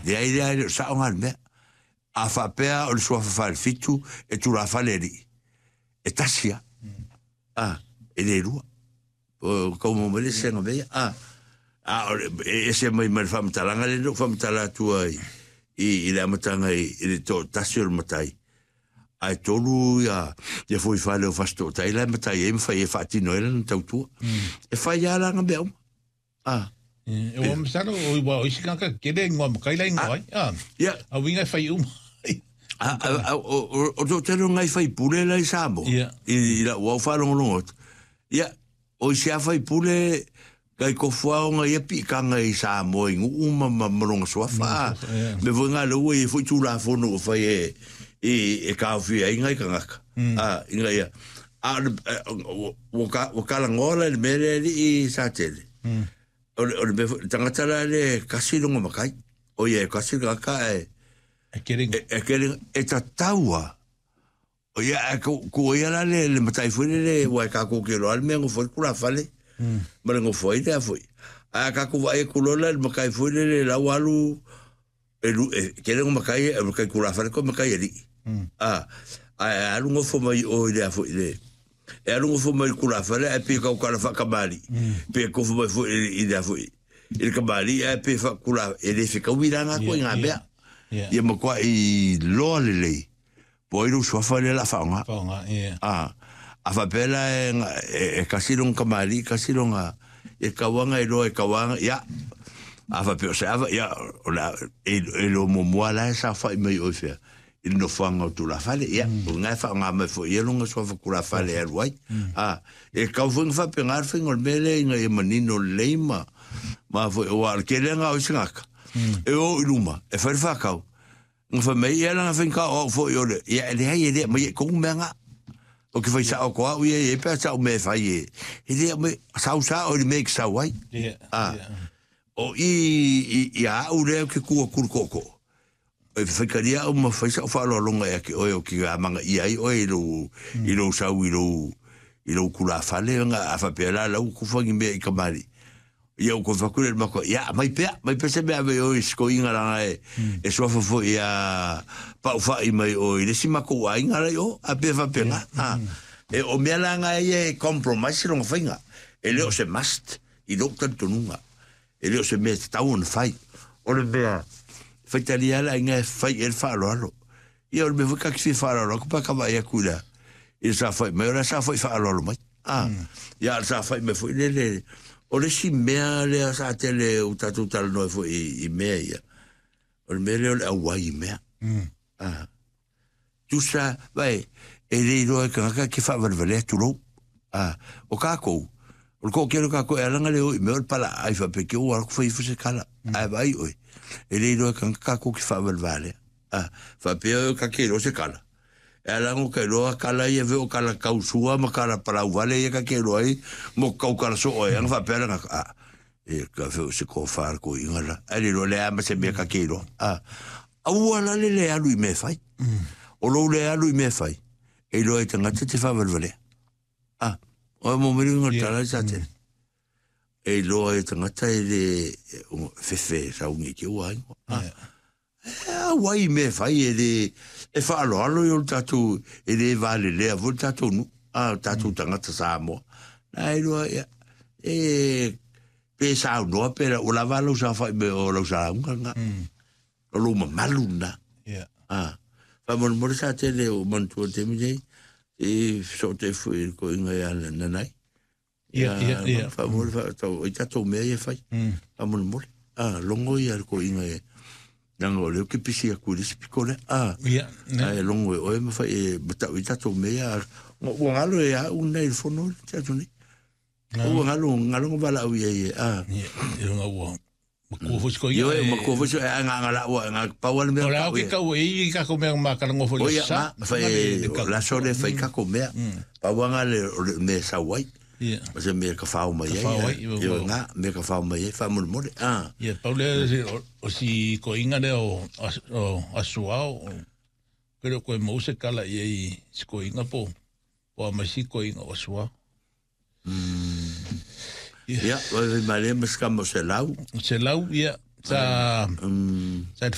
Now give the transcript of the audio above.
Leai, leai, le o sao nga le mea. A faapea o le suafa falefitu e tulafale alii, e tasi a. A, e le lua. O kau mo mai le senga mea. A, a o le, e ese mai ma le faamatalaga lea na ou faamatala atu ai i le amataga i le toatasi o le matai. Ae tolu ia fuaifale o Fasitootai la e matai ai ma fai e faatino ai lana tautua. E fai lava la nga mea uma. A. E ua masalo o ua o isi tagata tele ingoa matai la ingoa ai. A. Ia. A uiga e fai uma. A, o toatele o ngai faipule la i Samoa. Ia. I lau au faalogologo atu. Ia, o isi a faipule kai tofu lava ona ia piitaga i Samoa i nuu ma lona suafa. Mea foi na lea ua i ai foi Tulafono ua fai e taofia ai nai tagata. A, ina ia, a ua talanoa la i le mea lea alii Satele. O le mea foi, le tagata la lea e tasi lona matai. O ia e tasi le tagata ae E kere. E kere, e tatau lava. O ia, ae ku ia la le matai foi lele, ua e kākou ke loa le mea nofo ai le tulafale, ma le nofo ai lea foi. Ae a kākou vaai atu loa la i le matai foi lele la ua alu, e lu, e tele ona matai, e matai tulafale koe matai alii. A, ae alu nofo mai o i lea foi le, e alu nofo mai i le tulafale ae pei e tautala faatamalii, pe nofo mai foi i lea foi, i le tamalii ae pei e faatula, e le fetaui la na ituaiga mea. Ia matuai loa lelei. Po o ai lou suafa lea o le a faaaoga. Faaaoga, ia. A, a faapea la e tasi lona tamalii, tasi lona, e tatau lava ona iloa, e tatau lava, ia, a faapea o se ava, ia, o le a, e iloa muamua lava la e saofai mai oe i fea, i le nofoaga o tulafale, ia, o lena e faaaoga mai foi e ia lona suafa tulafale e alu ai. A, e tatau foi ona faapena le faiga o le mea lea ina ia manino lelei ma foi, aua o le tele lena o isi tagata, e o i luma, e fai le faatau, Na fai mai ia lana faigata o au foi o le, ia e leai e le aumaia i tonu mea na. Ou te fai sao atu au ia e pe a sau mea e fai e, e le aumai, sau sao i le mea e te sau ai. A, o i, i, i a au lea ou te tu atu i le tootoo, e faitalia au ma fai sau faaaloaloga ia te oe ou te amanaia ai oe i lou, i lou sau i lou, i lou tulafale, a faapea la lau tufa ni mea i kamali'i. Ia ua toe fai atu lea i le matua, ia aumai pea, aumai pea se mea ave i o i sikoiga leaga e suafa foi ia Paufai mai o i le isi matou aiga la i o, a pei e faapena. A, e o mea la na ia e compromise lona faiga. E le o se must i lou talitonuga. E le o se mea e tatau ona fai. O le mea, faitalia lava le aiga e fai i ai le faaaloalo. Ia o le mea foi ta te fia faaaloalo atu pe a ta vaai atu i le i le saofai mai, o le a saofai faaaloalo mai. A, ia a le saofai mai foi lele, o le isi mea lea sa tele ua tatou talanoa ai foi i mea ia, o le mea lea o le auai i mea. A, tusa, vaai, e le iloa e tagata e te faavalevalea tulou. A, o tatou, o le toatele o tatou e ala ona le o i mea o le palaai faapea te i ua alu atu fai ifo se tala. Ae vaai oe, e le iloa e tagata tatou te faavalevalea. A, faapea oe ta te iloa se kala. E ala ona ta iloa kala ia veo kala tau sua ma kala palau vale ia ta te iloa ai mo tau kala soo ai. Ana faapea lana, a, e ka veo se kofa ko inga la. Ai le iloa le a ma se mea ka te iloa. A, aua la le le alu i mea e fai. O lou le alu i mea e fai, e iloa ai tagata te faavalevalea. A, o mo meri inga tala i sa tele. E iloa ai tagata e le fefe sauni ke ua ingoa. A, E auai i mea e fai e le e faaaloalo i o le tatou e le valelea foi le tatou nuu a o tatou tagata Samoa. Na e iloa ia e pe saunoa pe ua lava lou saofai mai o lau sauga lena. O lou mamalu lena. A faamolemole sa tele o manatua i le taimi nei i fesootai foi i le toeaina ia Nanai. Ia, ia, ia. Faamolemole faatau ai tatou mea ia e fai. Faamolemole. A, logo ia le toeaina e leaga o lea ou te pisi atu i le isi pito lea. A, Ia, ne. ae logo e oe ma fai e matau ai tatou mea ia. Ua galo e au nei i le fono le te atu nei. Ua galo, galo na valaau i ai e, a. Ia, ia ua Matua foi siko ia. Ioe, matua foi siko e nga nga la ua nga pau ale mea. O le au ke kau e i kako mea ma kala ngofo le sa. Oia, fai la so le fai kako mea. Pau anga le me sau ai. Ia. O se mea ka whao mai ai. Ioe, nga mea ka whao mai ai, faamolemole. Ah. Ia, pau le o si koinga le o asuao. Kere koe mau se kala i ei si koinga po. Po a mai si koinga o asuao. Ia, wai wai male ma se kama o se lau. Se lau, ia, sa, sa